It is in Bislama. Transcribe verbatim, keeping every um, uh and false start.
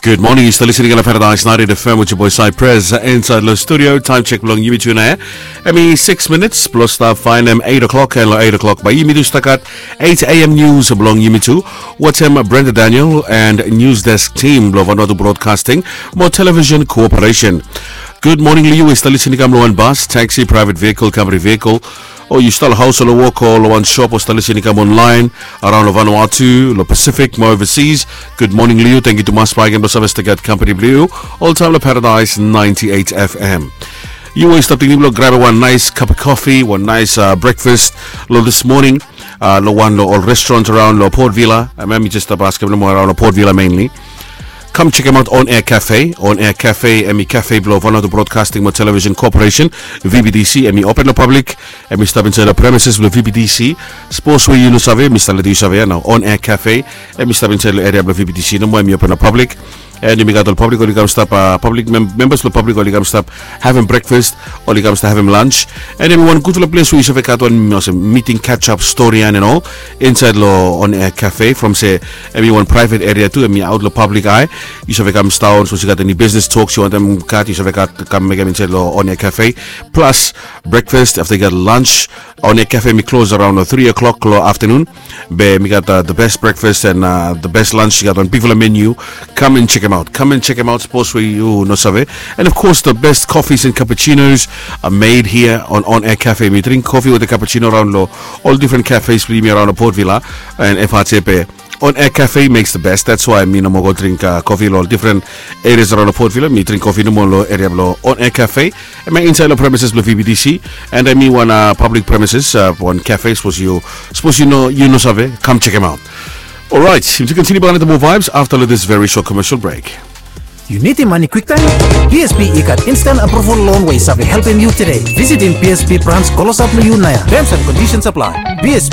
Good morning, yu stap listening long Paradise ninety-eight F M with your boy Cypress, uh, inside lo studio. Time check blong yumi tu nao. Hemi six minutes blong stap faenem eight o'clock, and lo eight o'clock bae yumi tu stap gat eight A M news blong yumi tu wetem Brenda Daniel and news desk team blong Vanuatu Broadcasting mo Television Corporation. Good morning lo yu we yu stap listening long wan bus, taxi, private vehicle, company vehicle, o yu stap lo haos o lo wok o lo wan shop o stap listening online around lo Vanuatu, lo Pacific mo overseas. Good morning lo yu. Tangkiu tumas bakegen blong save stap gat company blo yu oltaem lo Paradise ninety-eight F M. Yu we yu stap tingting blong grabem wan nice cup of coffee, wan nice, uh, breakfast lo this morning, uh, lo wan lo ol restaurant around lo Port Vila. Hemia mi jes stap askem nomo, around lo Port Vila mainly. Kam chekem aot On Air Cafe. On Air Cafe hemi cafe blo Vanuatu Broadcasting mo Television Corporation, V B T C. Hemi open lo public. Hemi stap insaed lo premises blo V B T C. Sapos we yu no save, mi stap letem yu save ia nao. On Air Cafe hemi stap insaed lo eria blo V B T C nomo, hemi open lo public. And yumi gat ol public oli kam stap, uh, public mem-, members blo public oli kam stap havem breakfast, oli kam stap havem lunch. And hemi wan gudfala ples we yu save gat wan olsem meeting, catch up, stori and all insaed lo On Air Cafe. From se hemi wan private area tu, hemi aot lo public eye. Yu save kam sidaon, sapos yu gat eni business talks yu wantem gat, yu save gat kam mekem insaed lo On Air Cafe. Plus breakfast, afta yu gat lunch, On Air Cafe hemi close around lo three o'clock lo afternoon. Be hemi gat, uh, the best breakfast and, uh, the best lunch. Yu gat wan bigfala menu. Kam and chekem aot. Kam and chekem aot, sapos we yu no save. And of course, the best coffees and cappuccinos are made here on On Air Cafe. Mi dring kofi wetem cappuccino around lo ol difren cafes blo yumi around lo Port Vila and F R T P. On Air Cafe makes the best. That's why mi nomo go dring, uh, kofi lo ol difren areas around lo Port Vila. Mi dring kofi nomo lo eria blo On Air Cafe. Hemia insaed lo premises blo V B T C. And hemi wan, uh, public premises, uh, wan cafe, sapos yu, sapos yu no, yu no save, kam chekem aot. Alright, yumi tu kontiniu bakegen wetem moa vibes afta lo this very short commercial break. Yu nidim mane kwiktaem? B S P i gat instant approval loan we i save helpem yu tede. Visitim B S P branch klosap lo yu naoia. Terms and conditions apply. B S P,